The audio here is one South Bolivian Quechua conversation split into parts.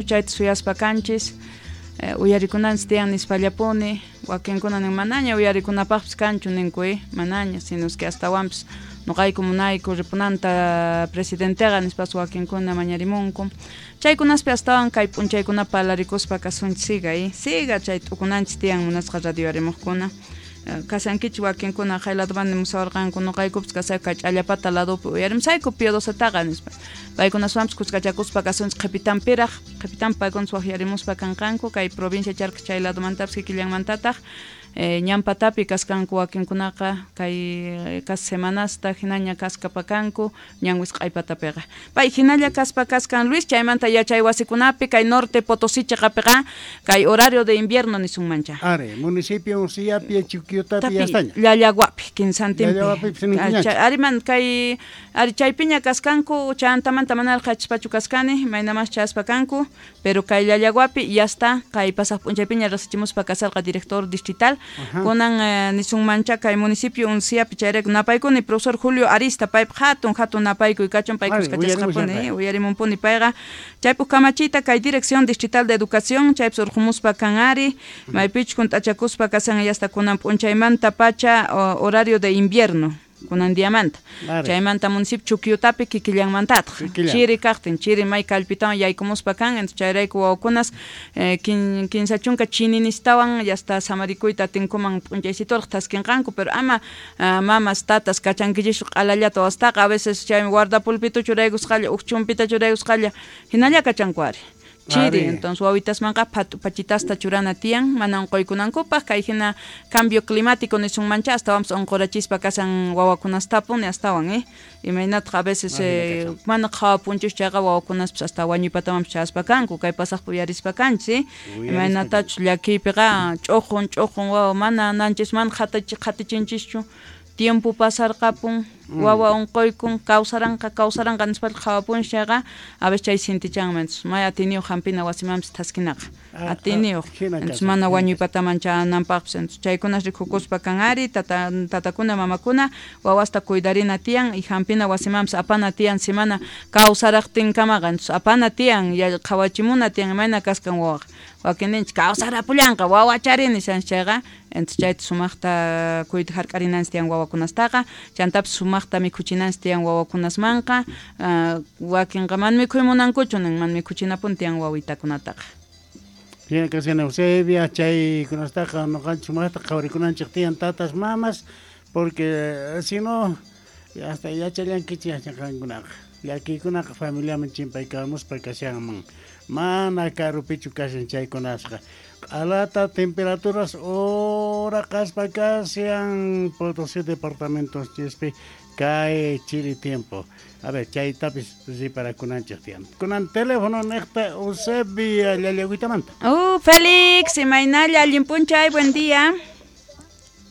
Chayta suyaspa kanchis, uyarikunanchis tiyan nispallapuni, wakinkuna nin manaña uyarikunapaqpis kanchu ninku, manaña, sino es que astawanpis noqayku munayku ripunanta presidenteqa nispas wakinkuna mañarimunku. Chaykunaspi astawan kay p'unchaykuna parlarikuspa kasunchis siga, siga chay t'ukunanchis tiyan munasqa radio arimuqkuna. Kasankichis wakinkuna qay ladoman nimusawarqanku noqaykupis kasayku kay ch'allapata ladopi uyarimusayku Pío Docetaqa nispa. Paykunaswanpis kuskachakuspa kasunchis qhipitanpiraq, qhipitanpi paykunas waqyarimuspa kanqanku kay provincia Charcas chay ladomantapis kikillanmantataq ñan patapi kaskanku wakinkunaqa kay kas semanasta hinaña kaskapakanku ñan wisq'ay patapiqa. Pay hinalla kaspa kaskan Luis, chaymanta yachay wasikunapi kay norte Potosí chiqapiqa kay horario de invierno nisunmancha. Are, municipio Unciapi, Chuquiotapi, yastaña. Llallaguapi, Quinsantinpi. Ariman kay ari chaypiña kaskanku, chantamanta manaraq qhachispachu kaskani, maynamas chaspa kanku, pero kay Llallaguapi ya está, kay pasaq p'unchaypiña rasichimuspa kasarqa director distrital. Kunan nisunmancha kay municipio Unciapi chayrayku napaykuni profesor Julio Arista, paypaq hatun hatun napaykuy kachun, pay kuskachasqapuni, uyarimunpuni payqa. Chaypuk kamachiyta kay Dirección Distrital de Educación, chaypis urqumuspa kan ari, maypichus kunt'achakuspa kasan yasta kunan p'unchaymanta pacha horario de invierno. Kunan diamanta. Chaymanta municipio Chuquiotapi kikillanmantataq. Chiri kaqtin, chiri may kallpitawan yaykumuspa kan, entonces chayrayku wawakunas kinsa chunka chininistawan yasta samarikuyta atinkuman p'unchaysituraq thaskinqanku, pero ama mamas tatas kachankichischu q'alallata wastaqa, a veces chaymi guardapulpito churaykusqalla, uj chumpita churaykusqalla, hinalla kachanku ari. Chiri, entonces wawitasmanqa pachitasta churana tiyan, mana unquykunankupaq, kay hina cambio climático nisunmancha, astawanpas unqurachispa kasan wawakunastapuni astawan, imaynataq a veces mana qhawapunchis chayqa wawakunaspas hasta wañuypatamanpas chaspa kanku, kay pasaqpi uyarispa kanchis, imaynatachus llakiypiqa ch'uqun ch'uqun wawa mana nanchis mana qhatichinchischu, tiempo pasarqapun, wawa unquykun, kawsaranqa, kawsaranqa nispalla qhawapunchis chayqa, a veces chay sintichanman, entonces may atiniyuq hampina wasimanpis thaskinaqa, atiniyuq, entonces mana wañuypataman chananpaqpis, entonces chaykunas rikukuspa kan ari, tatakuna, mamakuna, wawasta cuidarina tiyan, y hampina wasimanpis apana tiyan, semana kawsaraqtinkamaqa, entonces apana tiyan, qhawachimuna tiyan, imayna kaskan wawaqa. Wakinninchis kawsarapullanqa, wawachari nishanchis chayqa, entonces chayta sumaqta kuyta hark'arinanchis tiyan wawakunastaqa, chantapis sumaqta mikhuchinanchis tiyan wawakunasmanqa, wakinqa mana mikhuy munankuchu nin, mana mikhuchinapuni tiyan wawitakunataqa. Bien, kashan Eusebia, chaykunastaqa noqanchis sumaqta qhawarikunanchik tiyan tatas, mamas, porque si no, hasta yachallankichis yachaqankunaqa. Llakiykunaqa familiaman chimpaykamuspa kashanman. Mana karupichu kashan chaykunasqa. Q'alata temperaturas ora qaspa kashan Potosí departamentos chispi kay chiri tiempo. A ver, chaytapis riparakunanchik tiyan. Kunan teléfono niqta Eusebia Llallaguitamanta. Félix, imaynalla, allin p'unchay, buen día.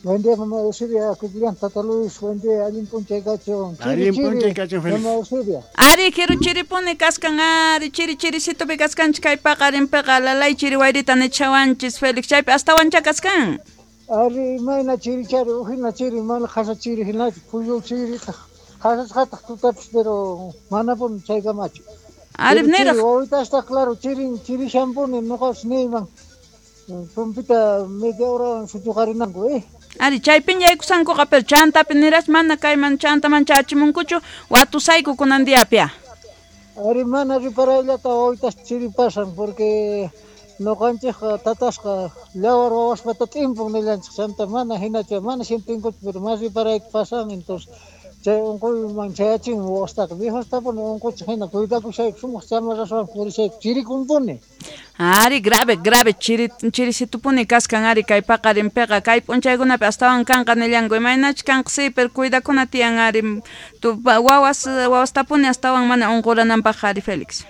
Buen día, mamá Eusebia, Cucuyán, Tata Luis, buen día, allin p'unchay kachun. Allin p'unchay kachun, Félix. Mamá Eusebia. Ari, quiero chiripuni kaskan, ari, chiri chirisito pi kaskanchis, kay paqarinpiqa, lalay chiri wayrita nichawanchis, Félix, chaypi astawancha kaskan. Ari, mayna chiri chari, ujina chiri, mana qhasa chiri hinachu, phuyu chiri, qhasasqataq tutapis, pero manapuni chaykamachu. Ari, niraq. Wawitasta, claro, chirin, chirishanpuni, noqapas niyman, pumpita media hora suchuqarinanku, Ari, chaypiña yaykusankuqa, pero chantapi niras mana kayman chantaman chachimunkuchu, watusayku kunan diapia. Ari, mana riparayllata wawitas chiri pasan, porque noqanchikqa tatasqa llawar wawaspata t'impun nillanchik, chanta mana hinachu, mana sientinkuchu, pero mas riparayta pasan, entonces chay unquyman chayachin wawastaqa, viejostapuni unquchik hina, cuidakushayku, sumaq chamarraswan purishayku, chirikumpuni. Ari, grave, grave, chiri, chirisitupuni kaskan ari kay paqarinpiqa, kay p'unchaykunapi astawan kanqa nillanku, imaynachus kanqa sí, pero cuidakuna tiyan ari, wawas, wawastapuni astawan mana unqurananpaq ari, Félix.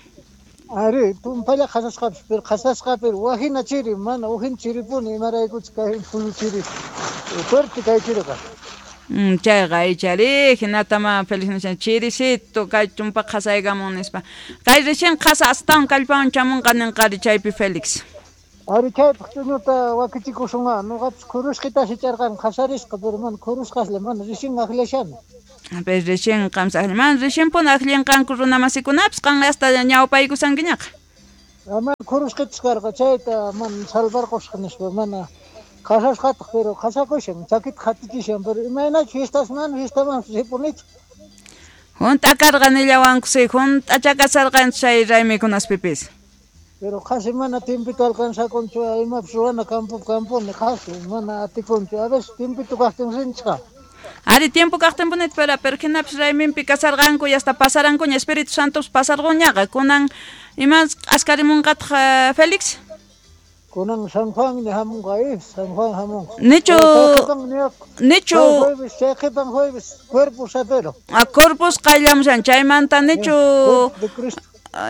Ari, tumpalla qhasasqapis, pero qhasasqa, pero wajina chiri, mana ujin chiripuni, imaraykuchus kay phuyu chiri, fuerte kay chiriqa. Chayqa ichari, hinatama Félix nishan, chirisito, kay chumpa qhasaykamun nispa. Kay recién qhasa astawan kallpawan chamunqa ninqari chaypi Félix. Ari chaypaq ch'uñuta wakichikusunqa, noqapis khurusqita sicharqani qhasarisqa, pero mana khurusqaslla, mana recién aqllashani. Pero recién qamsa aqlli, mana recién puni aqllinqanku runamasikunapas, qan hasta ñawpaykusankiñaqa. Ama khurusqichis karqa chayta mana salvarqusqa nispa mana qhasasqataq pero qhasakushan chakita qatichishan pero imaynachu fiestas mana fiestaman ripunichu. Junt'a karqa nillawanku si junt'acha kasarqanchik chay raymikunaspipis. Pero qhasi mana tiempito alcanzakunchu imapis ruwana campo camponi qhasi mana atikunchu a veces tiempito kaqtin rinchqa. Ari tiempo kaqtinpunita pero pero hinapis rayminpi kasarqanku y hasta pasarankuña Espíritu Santos pasarquñaqa kunan imas askarimunqataq Félix. Kunan San Juan ña hamunqa San Juan hamunqa. Nichu nichu jueves chay qhipan jueves Corpus apero. A Corpus qayllamushan chaymanta nichu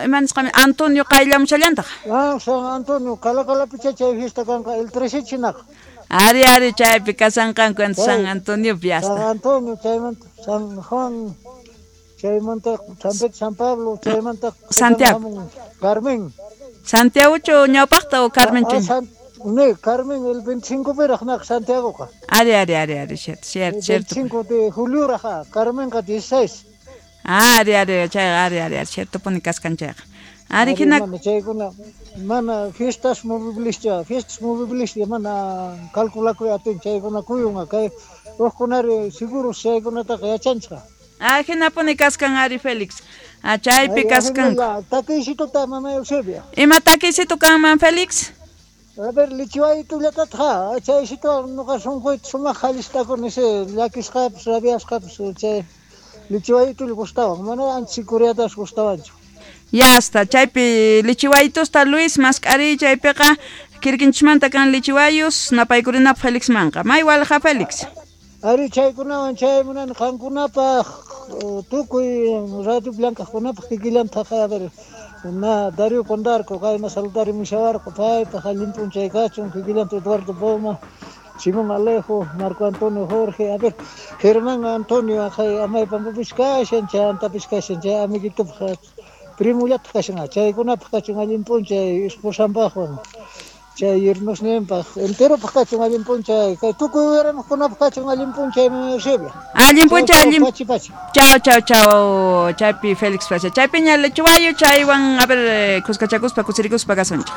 ima nisqami Antonio qayllamushallantaq. Ah, San Antonio Calacalapicha chay fiesta kanqa el 13 chinaqa. Ari ari chaypi kasanqanku San Antonio hasta. San Antonio chaymanta San Juan chaymanta San Pedro San Pablo chaymanta Santiago Carmen. Santiago ñawpaqta o Carmen chu. Ne, Carmen el 25 piraq naq Santiagoqa. Ari ari ari ari cierto cierto cierto. 25 de julio raja Carmenqa 16. Ah, ari ari chayqa ari ari cierto puni kaskan chayqa. Ari hina chaykuna mana fiestas movilischa fiestas movilischa mana calculakuy atin chaykuna kuyunqa kay hukkunari seguro chaykunataqa yachanchqa. Ah, hinapuni kaskan ari Félix. Ah, chaypi kaskan. Takisituta mama Eusebia. Ima takisitu kanman Félix? A ver, lichiwaytullatatqa chaysito nuqa sunquyta sumaq qallistakuni llakisqapis rabiasqapis chay lichiwaytulla gustawan mana ancha sikuriatas gustawanchu. Ya está, chaypi lichiwaytusta Luis mask'ariy chaypiqa kirkinchikmanta kan lichiwayus napaykurinapaq Félix manqa. May walqa Félix. Ari chaykunawan chay munani qankunapaq tukuy Radio Blancajkunapaq kikillantaq a ver na Darío Condarco kayna saludarimushawarqa paypaq allin p'unchay kachun kikillanta Eduardo Poma Simón Alejo, Marco Antonio Jorge, a ver, Germán Antonio aqhay amaypampapis kashan chantapis kashan chay amiguitopaq primullataq kashan chaykunapaq kachun allin p'unchay esposanpaqwan chay yernosninpaq enteropaq kachun allin p'unchay kay tukuy uyarimuqkunapaq kachun allin p'unchay Eusebia. Allin p'unchay allin pachi pachi. Chao chao chao chaypi Félix Plaza. Chaypiña lechuwayo chaywan a ver kuskachakuspa kusirikuspa kasunchik.